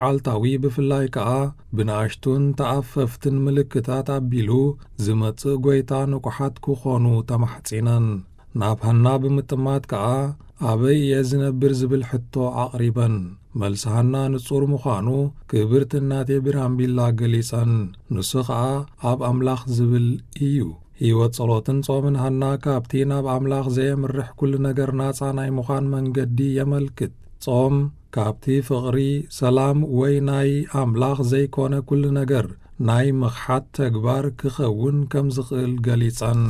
መዓልታዊ፣ ብፍላይ ከኣ ብንኣሽቱን ተኣፈፍትን ምልክታት ኣቢሉ ዝመጽእ ጐይታ ንቑሓት ክኾኑ ተማሕጺነን። ናብ ሃና ብምጥማት ከኣ፣ "ኣበይ እየ ዝነብር?" ዝብል ሕቶ ኣቕሪበን። መልሲ ሃና ንጹር ምዃኑ ክብርቲ እናቴ ቢራምቢላ ገሊጸን። ንሱ ኸኣ ኣብ ኣምላኽ ዝብል እዩ። ህይወት ጸሎትን ጾምን ሃና ካብቲ ናብ ኣምላኽ ዘየምርሕ ኩሉ ነገር ናጻ ናይ ምዃን መንገዲ የመልክት። ጾም ካብቲ ፍቕሪ፣ ሰላም ወይ ናይ ኣምላኽ ዘይኮነ ኩሉ ነገር ናይ ምኽሓድ ተግባር ክኸውን ከም ዝኽእል ገሊጸን።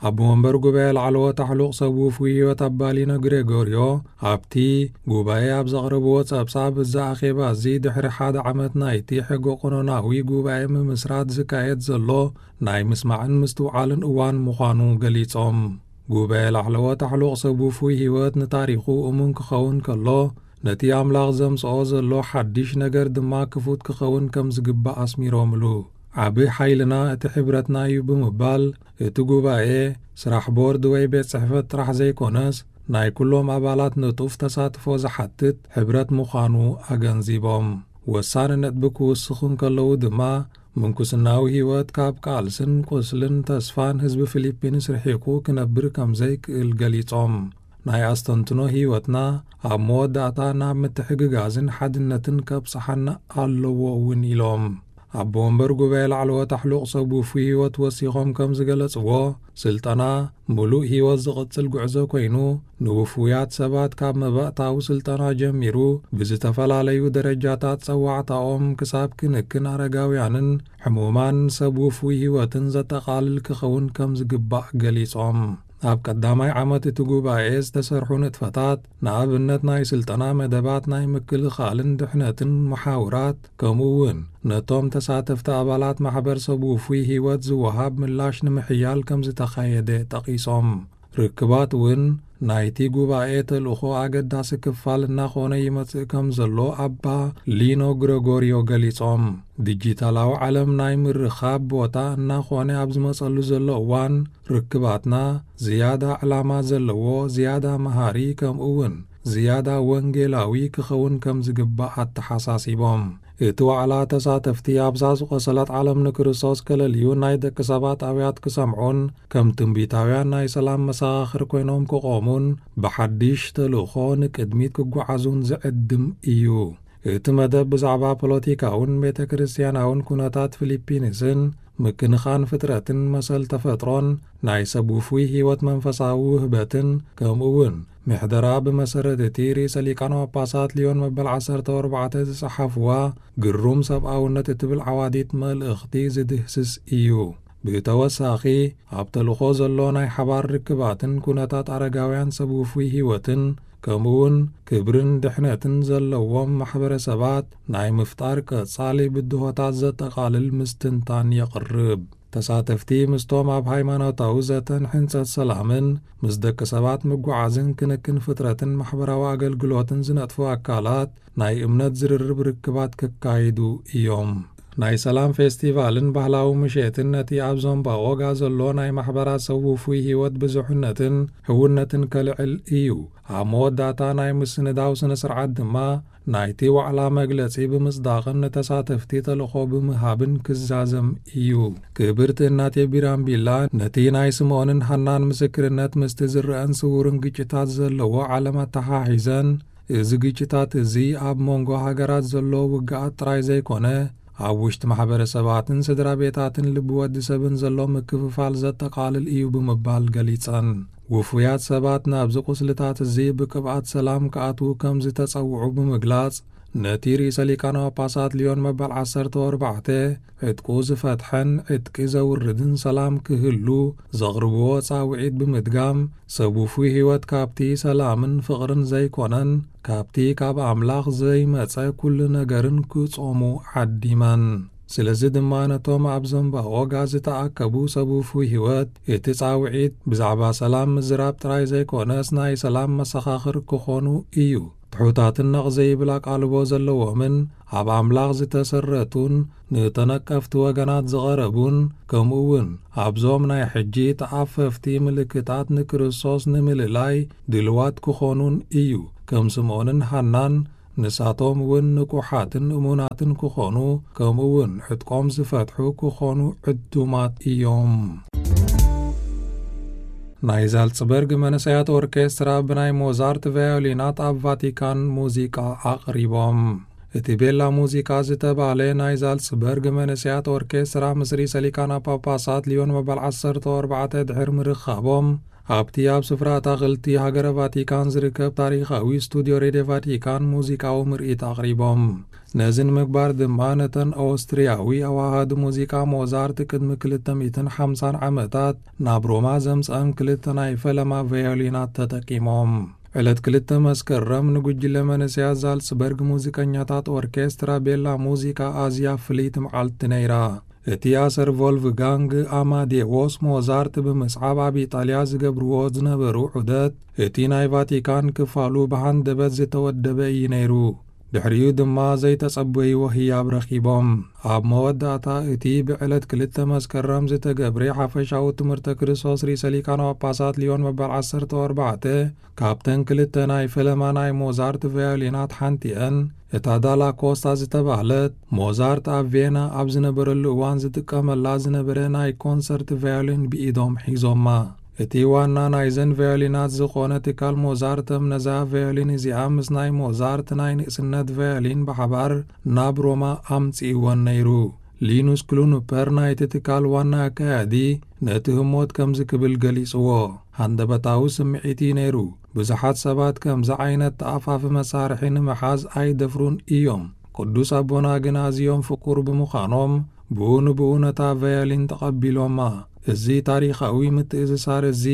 ኣቦ መንበር ጉባኤ ላዕለዎት ኣሕሉቕ ሰብ ውፉይ ህይወት ኣባ ሊኖ ግሬጎርዮ ኣብቲ ጉባኤ ኣብ ዘቕረብዎ ጸብጻብ፣ እዚ ኣኼባ እዚ ድሕሪ ሓደ ዓመት ናይቲ ሕገ ቀኖናዊ ጉባኤ ምምስራት ዝካየድ ዘሎ ናይ ምስማዕን ምስትውዓልን እዋን ምዃኑ ገሊጾም። ጉባኤ ላዕለዎት ኣሕሉቕ ሰብ ውፉይ ህይወት ንታሪኹ እሙን ክኸውን ከሎ፣ ነቲ ኣምላኽ ዘምጽኦ ዘሎ ሓድሽ ነገር ድማ ክፉት ክኸውን ከም ዝግባእ ኣስሚሮምሉ። "ዓቢ ሓይልና እቲ ሕብረትና እዩ" ብምባል፣ እቲ ጉባኤ ስራሕ ቦርድ ወይ ቤት ጽሕፈት ጥራሕ ዘይኮነስ፣ ናይ ኩሎም ኣባላት ንጡፍ ተሳትፎ ዝሓትት ሕብረት ምዃኑ ኣገንዚቦም። ወሳኒ ነጥቢ ክውስኹ እንከለዉ ድማ፣ ምንኩስናዊ ህይወት ካብ ቃልስን ቁስልን ተስፋን ህዝቢ ፊሊፒንስ ርሒቑ ክነብር ከም ዘይክእል ገሊጾም፣ ናይ ኣስተንትኖ ህይወትና ኣብ መወዳእታ ናብ ምትሕግጋዝን ሓድነትን ከብጽሓና ኣለዎ እውን ኢሎም። ኣቦ ወንበር ጉባኤ ላዕለዎት ኣሕሉቕ ሰብ ውፉይ ህይወት ወሲኾም ከም ዝገለጽዎ፣ ስልጠና ምሉእ ህይወት ዝቕጽል ጉዕዞ ኮይኑ፣ ንውፉያት ሰባት ካብ መባእታዊ ስልጠና ጀሚሩ፣ ብዝተፈላለዩ ደረጃታት ጸዋዕታኦም ክሳብ ክንክን ኣረጋውያንን ሕሙማን ሰብ ውፉይ ህይወትን ዘጠቓልል ክኸውን ከም ዝግባእ ገሊጾም። ኣብ ቀዳማይ ዓመት እቲ ጉባኤ ዝተሰርሑ ንጥፈታት፣ ንኣብነት ናይ ስልጠና መደባት ናይ ምክልኻልን ድሕነትን መሓውራት፣ ከምኡ እውን ነቶም ተሳተፍቲ ኣባላት ማሕበር ሰብ ውፉይ ህይወት ዝወሃብ ምላሽ ንምሕያል ከም ዝተኻየደ ጠቒሶም። ርክባት እውን ናይቲ ጉባኤ ተልእኾ ኣገዳሲ ክፋል እናኾነ ይመጽእ ከም ዘሎ ኣባ ሊኖ ግረጎርዮ ገሊጾም። ዲጂታላዊ ዓለም ናይ ምርኻብ ቦታ እናኾነ ኣብ ዝመጸሉ ዘሎ እዋን፣ ርክባትና ዝያዳ ዕላማ ዘለዎ፣ ዝያዳ መሃሪ፣ ከምኡ እውን ዝያዳ ወንጌላዊ ክኸውን ከም ዝግባእ ኣተሓሳሲቦም። እቲ ዋዕላ ተሳተፍቲ ኣብዛ ዝቖሰለት ዓለም ንክርስቶስ ከለልዩ ናይ ደቂ ሰባት ኣውያት ክሰምዑን ከም ትንቢታውያን ናይ ሰላም መሰኻኽር ኮይኖም ክቖሙን ብሓድሽ ተልእኾ ንቅድሚት ክጓዓዙን ዝዕድም እዩ። እቲ መደብ ብዛዕባ ፖለቲካውን ቤተ ክርስቲያናውን ኩነታት ፊሊፒንስን ምክንኻን ፍጥረትን መሰል ተፈጥሮን ናይ ሰብ ውፉይ ህይወት መንፈሳዊ ውህበትን ከምኡ እውን ምሕደራ ብመሰረት እቲ ርእሰ ሊቃነ ጳጳሳት ሊዮን መበል ዓሰርተ ኣርባዕተ ዝጸሓፍዋ ግሩም ሰብኣውነት እትብል ዓዋዲት መልእኽቲ ዝድህስስ እዩ። ብተወሳኺ፣ ኣብ ተልእኾ ዘሎ ናይ ሓባር ርክባትን ኩነታት ኣረጋውያን ሰብ ውፉይ ህይወትን፣ ከምኡውን ክብርን ድሕነትን ዘለዎም ማሕበረሰባት ናይ ምፍጣር ቀጻሊ ብድሆታት ዘጠቓልል ምስትንታን የቕርብ። ተሳተፍቲ ምስቶም ኣብ ሃይማኖታዊ ዘተን ሕንጸት ሰላምን፣ ምስ ደቂ ሰባት ምጉዓዝን ክንክን ፍጥረትን ማሕበራዊ ኣገልግሎትን ዝነጥፉ ኣካላት ናይ እምነት ዝርርብ ርክባት ክካይዱ እዮም። ናይ ሰላም ፌስቲቫልን ባህላዊ ምሸትን ነቲ ኣብ ዞምባኦጋ ዘሎ ናይ ማሕበራት ሰብ ውፉይ ህይወት ብዙሕነትን ሕውነትን ከልዕል እዩ። ኣብ መወዳእታ ናይ ምስንዳው ስነ ስርዓት ድማ ናይቲ ዋዕላ መግለጺ ብምጽዳቕን ንተሳተፍቲ ተልእኾ ብምሃብን ክዛዘም እዩ። ክብርቲ እናቴ ቢራምቢላ ነቲ ናይ ስምኦንን ሃናን ምስክርነት ምስቲ ዝረአን ስውርን ግጭታት ዘለዎ ዓለም ኣተሓሒዘን፣ እዚ ግጭታት እዚ ኣብ መንጎ ሃገራት ዘሎ ውግኣት ጥራይ ዘይኮነ፣ ኣብ ውሽጢ ማሕበረሰባትን ስድራ ቤታትን ልቢ ወዲ ሰብን ዘሎ ምክፍፋል ዘጠቓልል እዩ ብምባል ገሊጸን። ውፉያት ሰባት ናብዚ ቁስልታት እዚ ብቅብኣት ሰላም ክኣትዉ ከም ዝተጸውዑ ብምግላጽ፣ ነቲ ርእሰ ሊቃነ ጳጳሳት ሊዮን መበል ዓሰርተ ኣርባዕተ ዕጥቁ ዝፈትሐን ዕጥቂ ዘውርድን ሰላም ክህሉ ዘቕርብዎ ጻውዒት ብምድጋም፣ ሰብ ውፉይ ህይወት ካብቲ ሰላምን ፍቕርን ዘይኮነን፣ ካብቲ ካብ ኣምላኽ ዘይመጸ ኩሉ ነገርን ክጾሙ ዓዲመን። ስለዚ ድማ ነቶም ኣብ ዘምባኦጋ ዝተኣከቡ ሰብ ውፉይ ህይወት፣ እቲ ጻውዒት ብዛዕባ ሰላም ምዝራብ ጥራይ ዘይኮነስ፣ ናይ ሰላም መሰኻኽር ክኾኑ እዩ። ትሑታትን ነቕ ዘይብል ኣቓልቦ ዘለዎምን፣ ኣብ ኣምላኽ ዝተሰረቱን፣ ንተነቀፍቲ ወገናት ዝቐረቡን፣ ከምኡ እውን ኣብዞም ናይ ሕጂ ተኣፈፍቲ ምልክታት ንክርስቶስ ንምልላይ ድልዋት ክኾኑን እዩ። ከም ስምኦንን ሃናን ንሳቶም እውን ንቁሓትን እሙናትን ክኾኑ፣ ከምኡ እውን ዕጥቆም ዝፈትሑ ክኾኑ ዕዱማት እዮም። ናይ ዛልጽበርግ መንእሰያት ኦርኬስትራ ብናይ ሞዛርት ቫዮሊናት ኣብ ቫቲካን ሙዚቃ ኣቕሪቦም። እቲ ቤላ ሙዚቃ ዝተባህለ ናይ ዛልጽበርግ መንእሰያት ኦርኬስትራ ምስ ርእሰ ሊቃነ ጳጳሳት ሊዮን መበል ዓሰርተ ኣርባዕተ ድሕሪ ምርኻቦም፣ ኣብቲ ኣብ ስፍራ ኣታኽልቲ ሃገረ ቫቲካን ዝርከብ ታሪኻዊ ስቱድዮ ሬድዮ ቫቲካን ሙዚቃዊ ምርኢት ኣቕሪቦም። ነዚ ንምግባር ድማ ነተን ኦስትርያዊ ኣዋሃዲ ሙዚቃ ሞዛርት ቅድሚ ክልተ ሚእትን ሓምሳን ዓመታት ናብ ሮማ ዘምጽኣን ክልተ ናይ ፈለማ ቫዮሊናት ተጠቂሞም። ዕለት ክልተ መስከረም ንጉጅለ መንእሰያት ዛልጽበርግ ሙዚቀኛታት ኦርኬስትራ ቤላ ሙዚቃ ኣዝያ ፍልይቲ መዓልቲ ነይራ። እቲ ኣሰር ቮልፍጋንግ ኣማዴዎስ ሞዛርት ብምስዓብ ኣብ ኢጣልያ ዝገብርዎ ዝነበሩ ዑደት፣ እቲ ናይ ቫቲካን ክፋሉ ብሃንደበት ዝተወደበ እዩ ነይሩ። ድሕሪኡ ድማ ዘይተጸበይዎ ህያብ ረኺቦም። ኣብ መወዳእታ እቲ ብዕለት ክልተ መስከረም ዝተገብረ ሓፈሻዊ ትምህርተ ክርስቶስ ርእሰ ሊቃነ ጳጳሳት ሊዮን መበል ዓሰርተ ኣርባዕተ፣ ካብተን ክልተ ናይ ፈለማ ናይ ሞዛርት ቫዮሊናት ሓንቲአን፣ እታ ዳላ ኮስታ ዝተባህለት፣ ሞዛርት ኣብ ቬና ኣብ ዝነበረሉ እዋን ዝጥቀመላ ዝነበረ ናይ ኮንሰርት ቫዮሊን ብኢዶም ሒዞማ። እቲ ዋና ናይዘን ቫዮሊናት ዝኾነ ትካል ሞዛርተም ነዛ ቫዮሊን እዚኣ ምስ ናይ ሞዛርት ናይ ንእስነት ቫዮሊን ብሓባር ናብ ሮማ ኣምጺእወን ነይሩ። ሊኑስ ክሉንፐር ናይቲ ትካል ዋና ኣካያዲ ነቲ ህሞት ከምዚ ክብል ገሊጽዎ፣ "ሃንደበታዊ ስምዒት እዩ ነይሩ። ብዙሓት ሰባት ከምዚ ዓይነት ተኣፋፊ መሳርሒ ንምሓዝ ኣይደፍሩን እዮም። ቅዱስ ኣቦና ግን ኣዝዮም ፍቁር ብምዃኖም ብኡ ንብኡ ነታ ቫዮሊን ተቐቢሎማ። እዚ ታሪኻዊ ምትእስሳር እዚ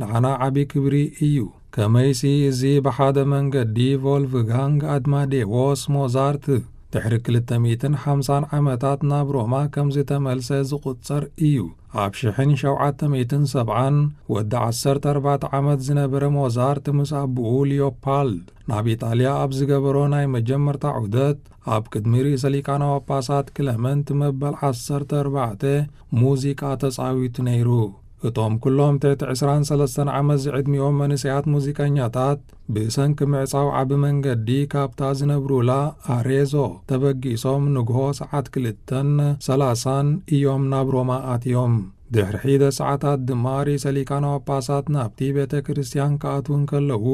ንዓና ዓቢ ክብሪ እዩ። ከመይሲ እዚ ብሓደ መንገዲ ቮልፍጋንግ ኣድማዴዎስ ሞዛርት ድሕሪ ክልተ ሚእትን ሓምሳን ዓመታት ናብ ሮማ ከም ዝተመልሰ ዝቑጸር እዩ። ኣብ ሽሕን ሸውዓተ ሚእትን ሰብዓን ወዲ ዓሰርተ ኣርባዕተ ዓመት ዝነበረ ሞዛርት ምስ ኣቦኡ ሊዮፓልድ ናብ ኢጣልያ ኣብ ዝገበሮ ናይ መጀመርታ ዑደት ኣብ ቅድሚ ርእሰ ሊቃነ ጳጳሳት ክለመንት መበል ዓሰርተ ኣርባዕተ ሙዚቃ ተጻዊቱ ነይሩ። እቶም ኩሎም ትሕቲ ዕስራን ሰለስተን ዓመት ዝዕድሚኦም መንእሰያት ሙዚቀኛታት ብሰንኪ ምዕጻው ዓቢ መንገዲ ካብታ ዝነብሩላ ኣሬዞ ተበጊሶም ንግሆ ሰዓት ክልተን ሰላሳን እዮም ናብ ሮማ ኣትዮም። ድሕሪ ሒደት ሰዓታት ድማ ርእሰ ሊቃነ ጳጳሳት ናብቲ ቤተ ክርስቲያን ክኣትዉ እንከለዉ፣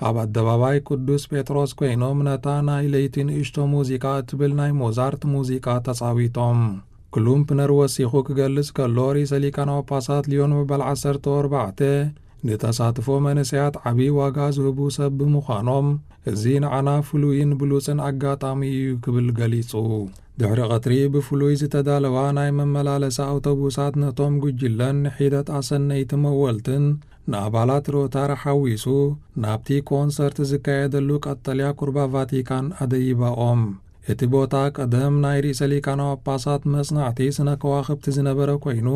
ኣብ ኣደባባይ ቅዱስ ጴጥሮስ ኮይኖም ነታ ናይ ለይቲ ንእሽቶ ሙዚቃ እትብል ናይ ሞዛርት ሙዚቃ ተጻዊቶም። ክሉምፕነር ወሲኹ ክገልጽ ከሎ፣ ርእሰ ሊቃነ ጳጳሳት ሊዮን መበል ዓሰርተ ኣርባዕተ ንተሳትፎ መንእሰያት ዓቢ ዋጋ ዝህቡ ሰብ ብምዃኖም፣ እዚ ንዓና ፍሉይን ብሉጽን ኣጋጣሚ እዩ ክብል ገሊጹ። ድሕሪ ቀትሪ ብፍሉይ ዝተዳለዋ ናይ መመላለሲ ኣውቶቡሳት ነቶም ጉጅለን ንሒደት ኣሰነይቲ መወልትን ንኣባላት ሮታር ሓዊሱ ናብቲ ኮንሰርት ዝካየደሉ ቀጠልያ ቁርባ ቫቲካን ኣደይባኦም። እቲ ቦታ ቀደም ናይ ርእሰ ሊቃነ ጳጳሳት መጽናዕቲ ስነ ከዋኽብቲ ዝነበረ ኮይኑ፣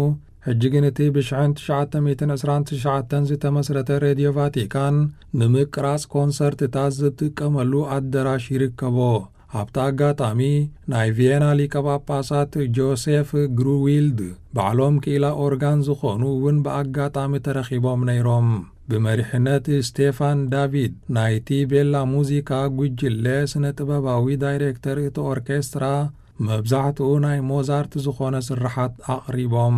ሕጂ ግን እቲ ብሽሕን ትሽዓተ ሚእትን ዕስራን ትሽዓተን ዝተመስረተ ሬድዮ ቫቲካን ንምቅራጽ ኮንሰርትታት ዝጥቀመሉ ኣደራሽ ይርከቦ። ኣብቲ ኣጋጣሚ ናይ ቪየና ሊቀ ጳጳሳት ጆሴፍ ግሩዊልድ ባዕሎም ክኢላ ኦርጋን ዝኾኑ እውን ብኣጋጣሚ ተረኺቦም ነይሮም። ብመሪሕነት ስቴፋን ዳቪድ ናይቲ ቤላ ሙዚካ ጉጅለ ስነ ጥበባዊ ዳይሬክተር እቲ ኦርኬስትራ መብዛሕትኡ ናይ ሞዛርት ዝኾነ ስርሓት ኣቕሪቦም።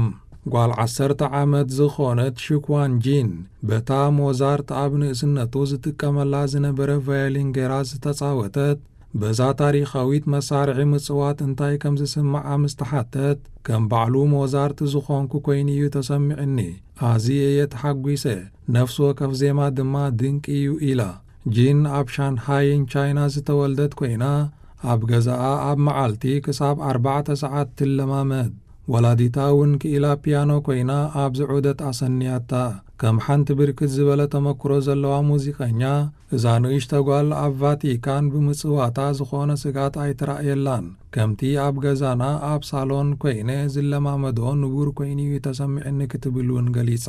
ጓል ዓሰርተ ዓመት ዝኾነት ሽኳን ጂን በታ ሞዛርት ኣብ ንእስነቱ ዝጥቀመላ ዝነበረ ቫዮሊን ገይራ ዝተጻወተት በዛ ታሪኻዊት መሳርሒ ምጽዋት እንታይ ከም ዝስምዓ ምስ ተሓተት፣ ከም ባዕሉ ሞዛርት ዝኾንኩ ኮይኑ እዩ ተሰሚዕኒ። ኣዝየ እየ ተሓጒሰ። ነፍሲ ወከፍ ዜማ ድማ ድንቂ እዩ ኢላ። ጂን ኣብ ሻንሃይን ቻይና ዝተወልደት ኮይና፣ ኣብ ገዛኣ ኣብ መዓልቲ ክሳብ ኣርባዕተ ሰዓት ትለማመድ። ወላዲታ እውን ክኢላ ፒያኖ ኮይና ኣብዚ ዑደት ኣሰንያታ። ከም ሓንቲ ብርክት ዝበለ ተመክሮ ዘለዋ ሙዚቀኛ፣ እዛ ንእሽቶ ጓል ኣብ ቫቲካን ብምጽዋታ ዝኾነ ስግኣት ኣይተራእየላን። ከምቲ ኣብ ገዛና ኣብ ሳሎን ኮይነ ዝለማመዶ ንቡር ኮይኑ እዩ ተሰሚዕኒ ክትብል እውን ገሊጻ።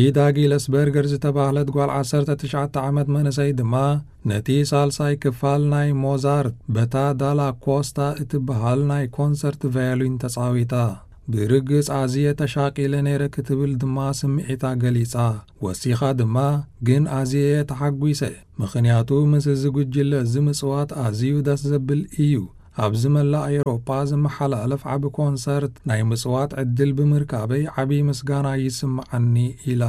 ኢዳ ጊለስበርገር ዝተባህለት ጓል ዓሰርተ ትሽዓተ ዓመት መንእሰይ ድማ ነቲ ሳልሳይ ክፋል ናይ ሞዛርት በታ ዳላ ኮስታ እትበሃል ናይ ኮንሰርት ቫዮሊን ተጻዊታ። ብርግጽ ኣዝየ ተሻቒለ ነይረ ክትብል ድማ ስምዒታ ገሊጻ። ወሲኻ ድማ፣ ግን ኣዝየ እየ ተሓጒሰ፣ ምኽንያቱ ምስ እዚ ጉጅለ እዚ ምጽዋት ኣዝዩ ደስ ዘብል እዩ። ኣብዚ መላእ ኤውሮጳ ዝመሓላለፍ ዓቢ ኮንሰርት ናይ ምጽዋት ዕድል ብምርካበይ ዓቢ ምስጋና ይስምዓኒ ኢላ።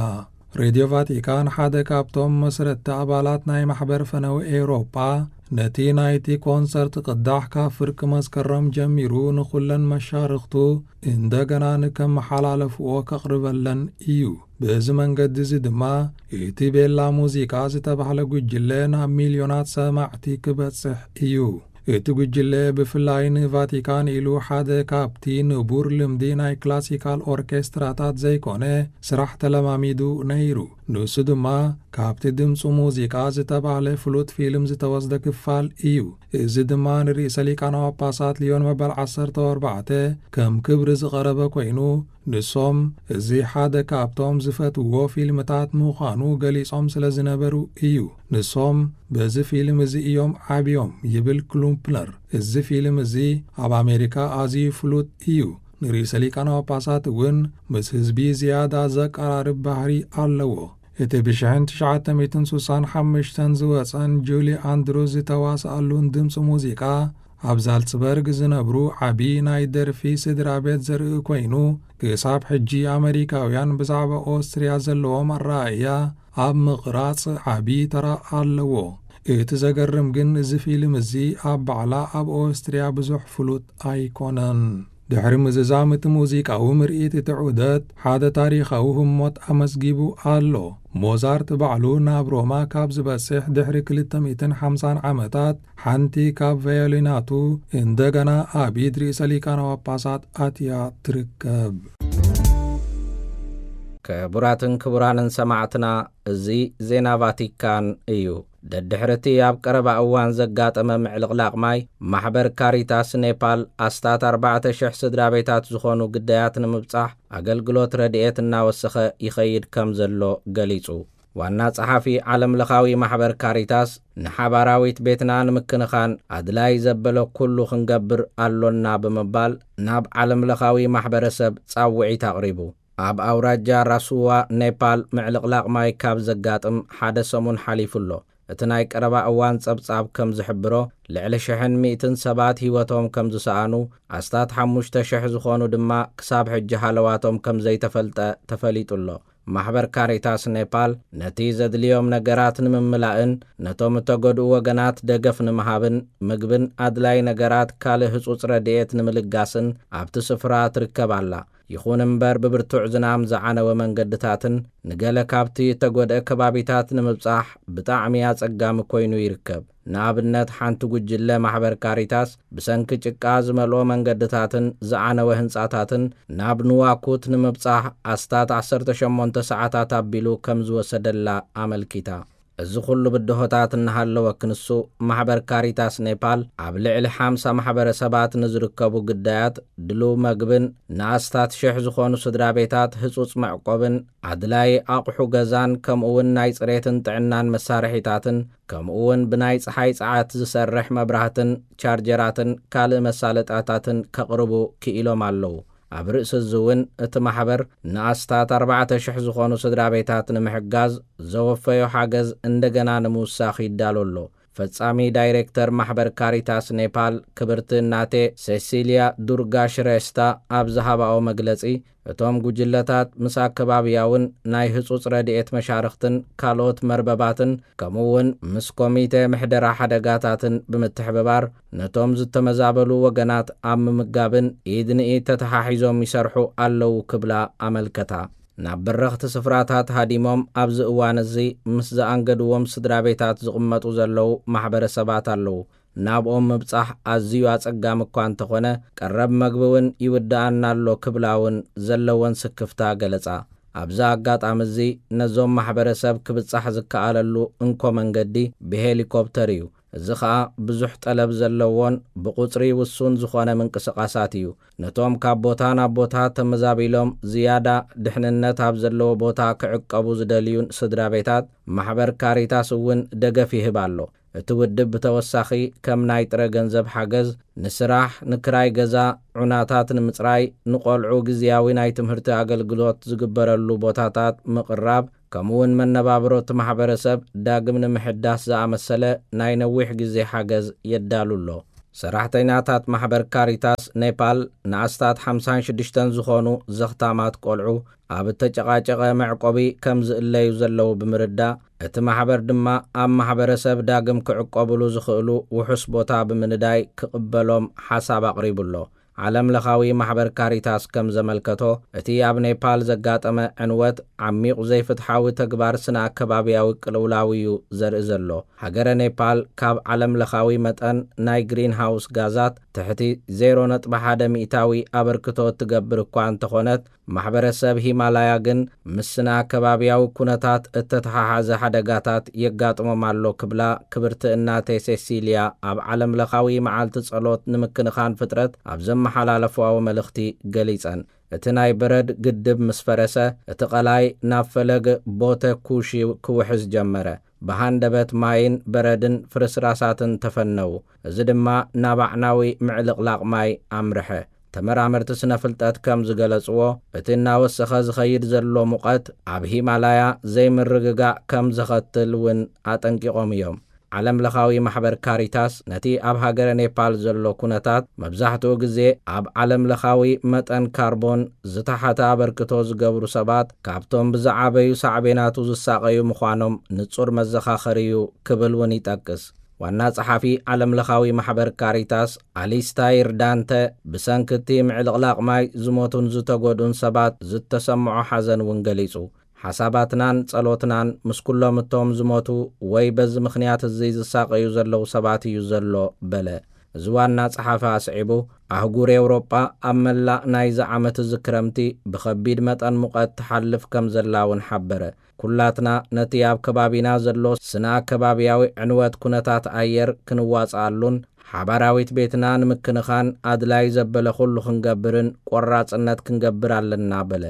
ሬድዮ ቫቲካን ሓደ ካብቶም መስረትቲ ኣባላት ናይ ማሕበር ፈነው ኤውሮጳ ነቲ ናይቲ ኮንሰርት ቅዳሕ ካብ ፍርቂ መስከረም ጀሚሩ ንኹለን መሻርኽቱ እንደገና ንከመሓላለፍዎ ከቕርበለን እዩ። በዚ መንገዲ እዚ ድማ እቲ ቤላ ሙዚቃ ዝተባህለ ጉጅለ ናብ ሚልዮናት ሰማዕቲ ክበጽሕ እዩ። እቲ ጉጅለ ብፍላይ ንቫቲካን ኢሉ ሓደ ካብቲ ንቡር ልምዲ ናይ ክላሲካል ኦርኬስትራታት ዘይኮነ ስራሕ ተለማሚዱ ነይሩ። ንሱ ድማ ካብቲ ድምፂ ሙዚቃ ዝተባህለ ፍሉጥ ፊልም ዝተወስደ ክፋል እዩ። እዚ ድማ ንርእሰ ሊቃነ ጳጳሳት ሊዮን መበል ዓሰርተ ኣርባዕተ ከም ክብሪ ዝቐረበ ኮይኑ፣ ንሶም እዚ ሓደ ካብቶም ዝፈትውዎ ፊልምታት ምዃኑ ገሊጾም ስለ ዝነበሩ እዩ። ንሶም በዚ ፊልም እዚ እዮም ዓብዮም ይብል ክሉምፕነር። እዚ ፊልም እዚ ኣብ ኣሜሪካ ኣዝዩ ፍሉጥ እዩ። ንርእሰ ሊቃነ ጳጳሳት እውን ምስ ህዝቢ ዝያዳ ዘቀራርብ ባህሪ ኣለዎ። እቲ ብሽሕን ትሽዓተ ሚእትን ስሳን ሓሙሽተን ዝወጸን ጁሊ ኣንድሩዝ ዝተዋስኣሉን ድምፂ ሙዚቃ ኣብ ዛልጽበርግ ዝነብሩ ዓቢ ናይ ደርፊ ስድራ ቤት ዘርኢ ኮይኑ፣ ክሳብ ሕጂ ኣመሪካውያን ብዛዕባ ኦስትርያ ዘለዎም ኣረኣእያ ኣብ ምቕራጽ ዓቢ ተራ ኣለዎ። እቲ ዘገርም ግን እዚ ፊልም እዚ ኣብ ባዕላ ኣብ ኦስትርያ ብዙሕ ፍሉጥ ኣይኮነን። ድሕሪ ምዝዛም እቲ ሙዚቃዊ ምርኢት እቲ ዑደት ሓደ ታሪኻዊ ህሞት ኣመዝጊቡ ኣሎ። ሞዛርት ባዕሉ ናብ ሮማ ካብ ዝበጽሕ ድሕሪ ክልተ ሚእትን ሓምሳን ዓመታት ሓንቲ ካብ ቫዮሊናቱ እንደገና ኣብ ኢድ ርእሰ ሊቃነ ጳጳሳት ኣትያ ትርከብ። ክቡራትን ክቡራንን ሰማዕትና፣ እዚ ዜና ቫቲካን እዩ። ደድሕርቲ ኣብ ቀረባ እዋን ዘጋጠመ ምዕልቕላቕ ማይ፣ ማሕበር ካሪታስ ኔፓል ኣስታት ኣርባዕተ ሽሕ ስድራ ቤታት ዝኾኑ ግዳያት ንምብጻሕ ኣገልግሎት ረድኤት እናወሰኸ ይኸይድ ከም ዘሎ ገሊጹ። ዋና ጸሓፊ ዓለምለኻዊ ማሕበር ካሪታስ፣ ንሓባራዊት ቤትና ንምክንኻን ኣድላይ ዘበለ ኩሉ ክንገብር ኣሎና ብምባል ናብ ዓለምለኻዊ ማሕበረሰብ ጻውዒት ኣቕሪቡ። ኣብ ኣውራጃ ራሱዋ ኔፓል ምዕልቕላቕ ማይ ካብ ዘጋጥም ሓደ ሰሙን ሓሊፉ ኣሎ። እቲ ናይ ቀረባ እዋን ጸብጻብ ከም ዝሕብሮ፣ ልዕሊ ሽሕን ሚእትን ሰባት ህይወቶም ከም ዝሰኣኑ፣ ኣስታት ሓሙሽተ ሽሕ ዝኾኑ ድማ ክሳብ ሕጂ ሃለዋቶም ከም ዘይተፈልጠ ተፈሊጡ ኣሎ። ማሕበር ካሪታስ ኔፓል ነቲ ዘድልዮም ነገራት ንምምላእን ነቶም እተጎድኡ ወገናት ደገፍ ንምሃብን ምግብን ኣድላይ ነገራት ካልእ ህጹጽ ረድኤት ንምልጋስን ኣብቲ ስፍራ ትርከብ ኣላ። ይኹን እምበር፣ ብብርቱዕ ዝናም ዝዓነወ መንገድታትን ንገለ ካብቲ እተጎድአ ከባቢታት ንምብጻሕ ብጣዕሚ ኣጸጋሚ ኮይኑ ይርከብ። ንኣብነት፣ ሓንቲ ጉጅለ ማሕበር ካሪታስ ብሰንኪ ጭቃ ዝመልኦ መንገድታትን ዝዓነወ ህንጻታትን ናብ ንዋኩት ንምብጻሕ ኣስታት ዓሰርተ ሸሞንተ ሰዓታት ኣቢሉ ከም ዝወሰደላ ኣመልኪታ። እዚ ኩሉ ብድሆታት እናሃለወ ክንሱ፣ ማሕበር ካሪታስ ኔፓል ኣብ ልዕሊ ሓምሳ ማሕበረሰባት ንዝርከቡ ግዳያት ድሉው መግብን ንኣስታት ሽሕ ዝኾኑ ስድራ ቤታት ህጹጽ መዕቆብን ኣድላይ ኣቕሑ ገዛን ከምኡ እውን ናይ ጽሬትን ጥዕናን መሳርሒታትን ከምኡ እውን ብናይ ጸሓይ ጸዓት ዝሰርሕ መብራህትን ቻርጀራትን ካልእ መሳለጣታትን ከቕርቡ ክኢሎም ኣለዉ። ኣብ ርእሲ እዚ እውን እቲ ማሕበር ንኣስታት ኣርባዕተ ሽሕ ዝኾኑ ስድራ ቤታት ንምሕጋዝ ዘወፈዮ ሓገዝ እንደገና ንምውሳኽ ይዳሎ ኣሎ። ፈጻሚ ዳይሬክተር ማሕበር ካሪታስ ኔፓል ክብርቲ እናቴ ሴሲልያ ዱርጋ ሽሬስታ ኣብ ዝሃባኦ መግለጺ፣ እቶም ጉጅለታት ምስ ኣከባብያውን ናይ ህጹጽ ረድኤት መሻርኽትን ካልኦት መርበባትን ከምኡ እውን ምስ ኮሚቴ ምሕደራ ሓደጋታትን ብምትሕብባር ነቶም ዝተመዛበሉ ወገናት ኣብ ምምጋብን ኢድ ንኢድ ተተሓሒዞም ይሰርሑ ኣለዉ ክብላ ኣመልከታ። ናብ በረኽቲ ስፍራታት ሃዲሞም ኣብዚ እዋን እዚ ምስ ዘኣንገድዎም ስድራ ቤታት ዝቕመጡ ዘለዉ ማሕበረሰባት ኣለዉ። ናብኦም ምብጻሕ ኣዝዩ ኣጸጋሚ እኳ እንተኾነ፣ ቀረብ መግቢ እውን ይውድኣና ኣሎ ክብላ እውን ዘለወን ስክፍታ ገለጻ። ኣብዚ ኣጋጣሚ እዚ ነዞም ማሕበረሰብ ክብጻሕ ዝከኣለሉ እንኮ መንገዲ ብሄሊኮፕተር እዩ። እዚ ኸኣ ብዙሕ ጠለብ ዘለዎን ብቑጽሪ ውሱን ዝኾነ ምንቅስቓሳት እዩ። ነቶም ካብ ቦታ ናብ ቦታ ተመዛቢሎም ዝያዳ ድሕንነት ኣብ ዘለዎ ቦታ ክዕቀቡ ዝደልዩን ስድራ ቤታት ማሕበር ካሪታስ እውን ደገፍ ይህብ ኣሎ። እቲ ውድብ ብተወሳኺ ከም ናይ ጥረ ገንዘብ ሓገዝ፣ ንስራሕ፣ ንክራይ ገዛ፣ ዑናታት ንምጽራይ፣ ንቆልዑ ግዝያዊ ናይ ትምህርቲ ኣገልግሎት ዝግበረሉ ቦታታት ምቕራብ፣ ከምኡውን መነባብሮ እቲ ማሕበረሰብ ዳግም ንምሕዳስ ዝኣመሰለ ናይ ነዊሕ ግዜ ሓገዝ የዳሉ ኣሎ። ሰራሕተኛታት ማሕበር ካሪታስ ኔፓል ንኣስታት ሓምሳን ሽዱሽተን ዝኾኑ ዘኽታማት ቆልዑ ኣብ እተጨቓጨቐ መዕቆቢ ከም ዝእለዩ ዘለዉ ብምርዳእ፣ እቲ ማሕበር ድማ ኣብ ማሕበረሰብ ዳግም ክዕቆብሉ ዝኽእሉ ውሑስ ቦታ ብምንዳይ ክቕበሎም ሓሳብ ኣቕሪቡ ኣሎ። ዓለም ለኻዊ ማሕበር ካሪታስ ከም ዘመልከቶ፣ እቲ ኣብ ኔፓል ዘጋጠመ ዕንወት ዓሚቕ ዘይፍትሓዊ ተግባር ስነ ኣከባብያዊ ቅልውላው እዩ ዘርኢ ዘሎ። ሃገረ ኔፓል ካብ ዓለም ለኻዊ መጠን ናይ ግሪን ሃውስ ጋዛት ትሕቲ ዜሮ ነጥቢ ሓደ ሚእታዊ ኣበርክቶ እትገብር እኳ እንተኾነት፣ ማሕበረሰብ ሂማላያ ግን ምስ ስነ ኣከባብያዊ ኩነታት እተተሓሓዘ ሓደጋታት የጋጥሞም ኣሎ ክብላ ክብርቲ እናተ ሴሲልያ ኣብ ዓለም ለኻዊ መዓልቲ ጸሎት ንምክንኻን ፍጥረት ኣብ ዘመሓላለፍዋዊ መልእኽቲ ገሊጸን። እቲ ናይ በረድ ግድብ ምስ ፈረሰ፣ እቲ ቀላይ ናብ ፈለግ ቦተ ኩሺ ክውሕዝ ጀመረ። ብሃንደበት ማይን በረድን ፍርስራሳትን ተፈነዉ። እዚ ድማ ናብ ኣዕናዊ ምዕልቕላቕ ማይ ኣምርሐ። ተመራመርቲ ስነ ፍልጠት ከም ዝገለጽዎ፣ እቲ እናወሰኸ ዝኸይድ ዘሎ ሙቐት ኣብ ሂማላያ ዘይምርግጋእ ከም ዘኸትል እውን ኣጠንቂቖም እዮም። ዓለም ለኻዊ ማሕበር ካሪታስ ነቲ ኣብ ሃገረ ኔፓል ዘሎ ኩነታት፣ መብዛሕትኡ ግዜ ኣብ ዓለም ለኻዊ መጠን ካርቦን ዝተሓተ ኣበርክቶ ዝገብሩ ሰባት ካብቶም ብዝዓበዩ ሳዕቤናቱ ዝሳቐዩ ምዃኖም ንጹር መዘኻኸሪ እዩ ክብል እውን ይጠቅስ። ዋና ጸሓፊ ዓለም ለኻዊ ማሕበር ካሪታስ ኣሊስታይር ዳንተ፣ ብሰንኪ እቲ ምዕልቕላቕ ማይ ዝሞቱን ዝተጎድኡን ሰባት ዝተሰምዖ ሓዘን እውን ገሊጹ። ሓሳባትናን ጸሎትናን ምስ ኩሎም እቶም ዝሞቱ ወይ በዚ ምኽንያት እዚ ዝሳቐዩ ዘለዉ ሰባት እዩ ዘሎ በለ። እዚ ዋና ጸሓፊ ኣስዒቡ፣ ኣህጉር ኤውሮጳ ኣብ መላእ ናይዚ ዓመት እዚ ክረምቲ ብኸቢድ መጠን ሙቐት ትሓልፍ ከም ዘላ እውን ሓበረ። ኩላትና ነቲ ኣብ ከባቢና ዘሎ ስነ ኣከባብያዊ ዕንወት ኩነታት ኣየር ክንዋጽኣሉን ሓባራዊት ቤትና ንምክንኻን ኣድላይ ዘበለ ኩሉ ክንገብርን ቆራጽነት ክንገብር ኣለና በለ።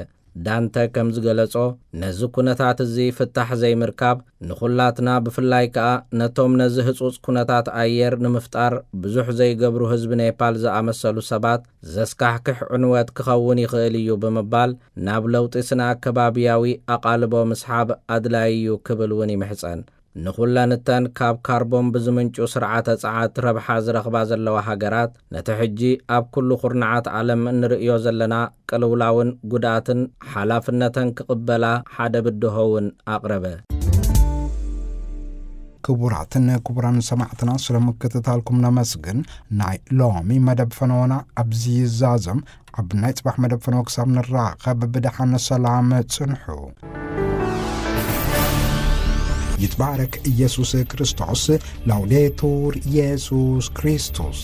ዳንተ ከም ዝገለጾ፣ ነዚ ኩነታት እዚ ፍታሕ ዘይምርካብ ንኹላትና፣ ብፍላይ ከኣ ነቶም ነዚ ህጹጽ ኩነታት ኣየር ንምፍጣር ብዙሕ ዘይገብሩ ህዝቢ ኔፓል ዝኣመሰሉ ሰባት ዘስካሕክሕ ዕንወት ክኸውን ይኽእል እዩ ብምባል፣ ናብ ለውጢ ስነ ኣከባብያዊ ኣቓልቦ ምስሓብ ኣድላዪ እዩ ክብል እውን ይምሕጸን። ንኹለን እተን ካብ ካርቦን ብዝምንጩ ስርዓተ ጸዓት ረብሓ ዝረኽባ ዘለዋ ሃገራት፣ ነቲ ሕጂ ኣብ ኩሉ ኩርናዓት ዓለም እንርእዮ ዘለና ቅልውላውን ጉድኣትን ሓላፍነተን ክቕበላ ሓደ ብድሆ እውን ኣቕረበ። ክቡራትን ክቡራን ሰማዕትና፣ ስለ ምክትታልኩም ነመስግን። ናይ ሎሚ መደብ ፈነወና ኣብዚ ይዛዘም። ኣብ ናይ ጽባሕ መደብ ፈነወ ክሳብ ንራኸብ፣ ብደሓን ሰላም ጽንሑ። ይትባረክ ኢየሱስ ክርስቶስ። ላውዴቱር ኢየሱስ ክርስቶስ።